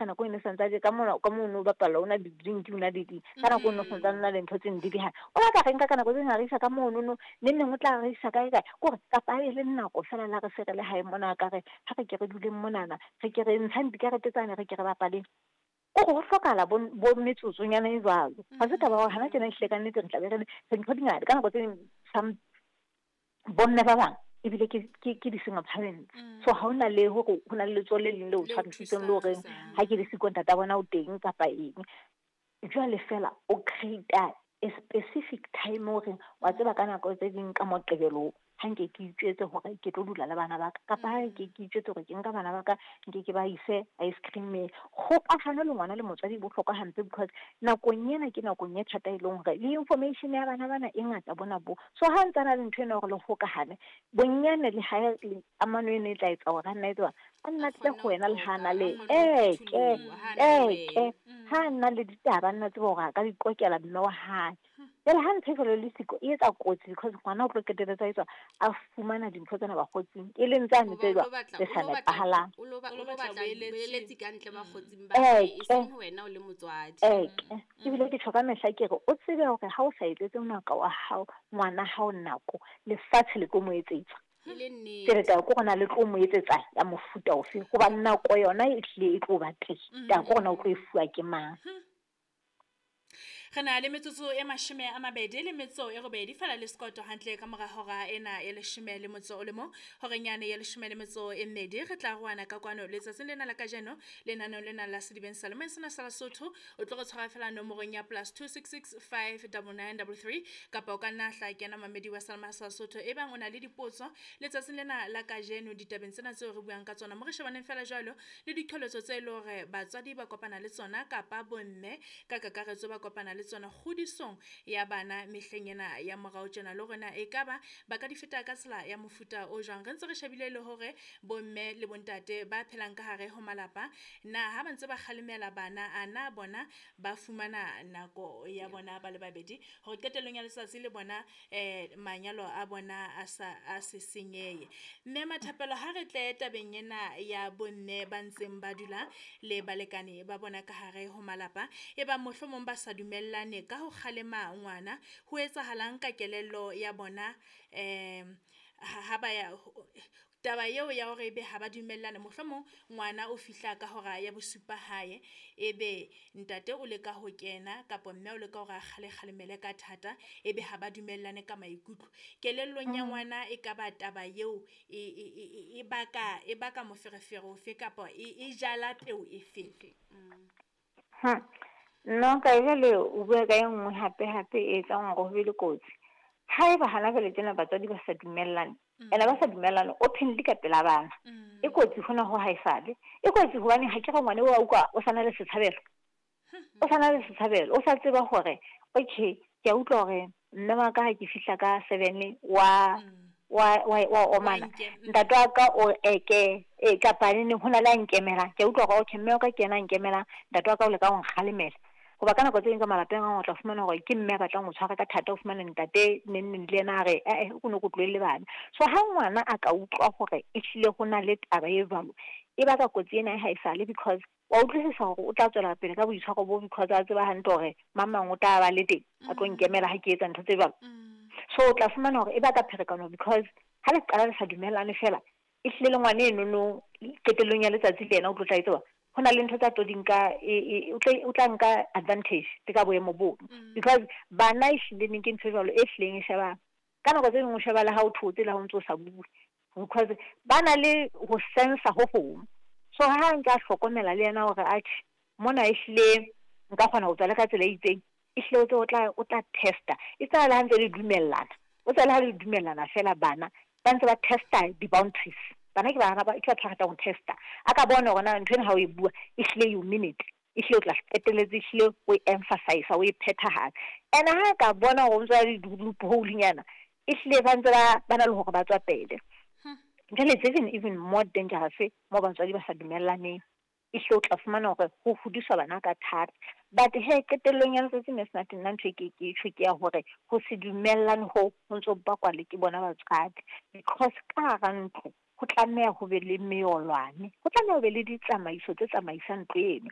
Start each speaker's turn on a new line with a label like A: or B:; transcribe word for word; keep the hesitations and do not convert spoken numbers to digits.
A: Ka nako eno santse ka mona ka mono bapala o na di drink o na di di ka nako eno santse na le ntho tse di di ha o la ka re nka ka nako tse re isa ka mono no ne neng o tla re isa kae kae kore kapa e le nako fela la re se re le hae mona ka re ha re ke re duleng monana re ke re ntshang dikarete tsane re ke re bapaleng o go hlokala bo bo metsotsonyana e jwalo. Ha se taba hore hana tjena ehlile ka nnete re tla be re re ntho di ngata ka nako tse ding some bomme ba bang ebile ke ke ke di-single parents. So ha hona le hore ho na le letsoho le leng le o tshwarisitseng le horeng ha ke le siko ntata bona o teng kapa eng. Jwale fela o create a specific time hore wa tseba ka nako tse ding ka Moqebelo ha nke ke itjwetse hore ke tlo dula le bana ba ka kapa ha ke ke itjwetse hore ke nka bana ba ka nke ke ba ise ice cream. Kgokahano le ngwana le motswadi e bohlokwa hampe because nakong ena ke nakong e thata e leng hore le information ya bana bana e ngata bona bo. So ha ntse na le ntho ena hore le hokahane bonyane le ha le amano eno e tla etsa hore a nna e tseba a nna tle ho wena le ha na le eke eke ha nna le ditaba nna tseba hore a ka di qokela mme wa hae. Jwale ha ntho e jwalo le siko e etsa kotsi because ngwana o tlo qetelletse a etswa a fumana dintho tsena bakgotsing e leng tsane tse jwang tse sa nepahalang.
B: O lo batla boeletsi ka ntle bakgotsing ba hae, e seng wena o le motswadi.
A: Eke ebile ke tjho ka mehla ke re o tsebe hore ha o sa etsetse ngaka wa hao ngwana hao nako lefatshe le tlo mo etsetsa. Ke re taba ke hore na le tlo mo etsetsa ya mofuta ofe hobane nako yona e hlile e tlo ba teng. Taba ke hore na o tlo e fuwa ke mang.
C: Re na le metsotso e mashome a mabedi le metso e robedi fela le sekoto hantle ka mora hora ena ya leshome le motso o le mong horeng yane ya leshome le metso e mmedi re tla roana ka kwano letsatsing lena la kajeno lenaneo lena la Sedibeng sa Lomeng sena sa Lesotho. O tlo re tshwara fela nomorong ya plus two six six five double nine double three kapa o ka nna hla kena mamedi wa Salma sa Lesotho e bang o na le dipotso letsatsing lena la kajeno ditabeng tsena tseo re buang ka tsona mo re shebaneng fela jwalo le diqholotso tse e leng hore batswadi ba kopana le tsona kapa bomme ka kakaretso ba kopana le tsona kgodisong ya bana mehleng ena ya morao tjena le rona e ka ba ba ka di feta ka tsela ya mofuta o jwang. Re ntse re shebile le hore bomme le bontate ba phelang ka hare ho malapa na ha ba ntse ba kgalemela bana a na bona ba fumana nako ya bona ba le babedi hore qetellong ya letsatsi le bona eh manyalo a bona a sa a se senyehe. Mme Mathapelo ha re tle tabeng ena ya bomme ba ntseng ba dula le balekane ba bona ka hare ho malapa e ba mohlomong ba sa dumellane ka ho kgalema ngwana ho etsahalang ka kelello ya bona eh ha ba ya taba eo ya hore ebe ha ba dumellane mohlomong ngwana o fihla ka hora ya bosupa hae ebe ntate o leka ho kena kapa mme o leka hore a kgale kgalemele ka thata ebe ha ba dumellane ka maikutlo kelellong ya ngwana e ka ba taba eo e e baka e baka moferefere ofe kapa e jala peo efe.
A: Ha nna ka jwale o bua ka e nngwe hape hape e etsang hore ho be le kotsi. Haeba hana jwale tjena batswadi ba sa dumellane ene ba sa dumellane openly ka pela bana e kotsi hona ho haesale e kotsi hobane ha ke re ngwane wa utlwa o sa na le setshabelo o sa na le setshabelo o sa tseba hore okay ke a utlwa hore mme wa ka ha ke fihla ka seven wa wa wa wa omana ntate wa ka o eke e kapa neng ho na le a nkemelang ke a utlwa hore okay mme wa ka ke yena a nkemelang ntate wa ka o leka ho nkgalemela. Hoba ka nako tse ding ka malapeng a o tla fumana hore ke mme a batlang ho tshwara ka thata o fumana ntate neng neng le yena a re eh o ne o tlohelle bana. So ha ngwana a ka utlwa hore ehlile ho na le taba e jwalo e baka kotsi ena e haesale because wa utlwisisa hore o tla tswela pele ka boitshwaro bo because a tseba hantle hore mang mang o tla ba le teng a tlo nkemela ha ke etsa ntho tse jwalo. So o tla fumana hore e baka pherekano because ha le qala le sa dumellane fela ehlile le ngwana eno no qetellong ya letsatsi le yena o tlo tla tseba ho na le ntho tsa tlo di nka o tla o tla nka advantage le ka boemo bo because bana ehlile neng ke ntho e jwalo e hlileng e sheba ka nako tse dingwe o sheba le ha o thotse le ha o ntso sa bue because ba na le ho sensa ho hong. So ha nka hlokomela le yena hore atjhe mona ehlile nka kgona ho tswa le ka tsela e itseng ehlile o tse o tla o tla testa e tsala ha ntse le dumellana o tsala ha le dumellana fela bana ba ntse ba testa di-boundaries. Bana ke bana ba ke batho ba ratang ho testa a ka bona hore na ntho ena ha o e bua ehlile you mean it ehlile o tla qetelletse ehlile o e emphasize o e phethahatsa ene ha ka bona hore o ntse le loophole-nyana ehlile ba ntse ba ba na le hore ba tswa pele. Jwale it's even even more dangerous mo batswadi ba sa dumellaneng ehlile o tla fumana hore ho hodiswa bana ka thata. But he qetellong ya letsatsi mme sena nna ntho e ke ke tjho ke ya hore ho se dumellane ho ho ntso bakwa le ke bona batswadi because ka hara ntlo Ho tlameha ho be le meolwane, ho tlameha ho be le ditsamaiso tse tsamaisang ntlo eno.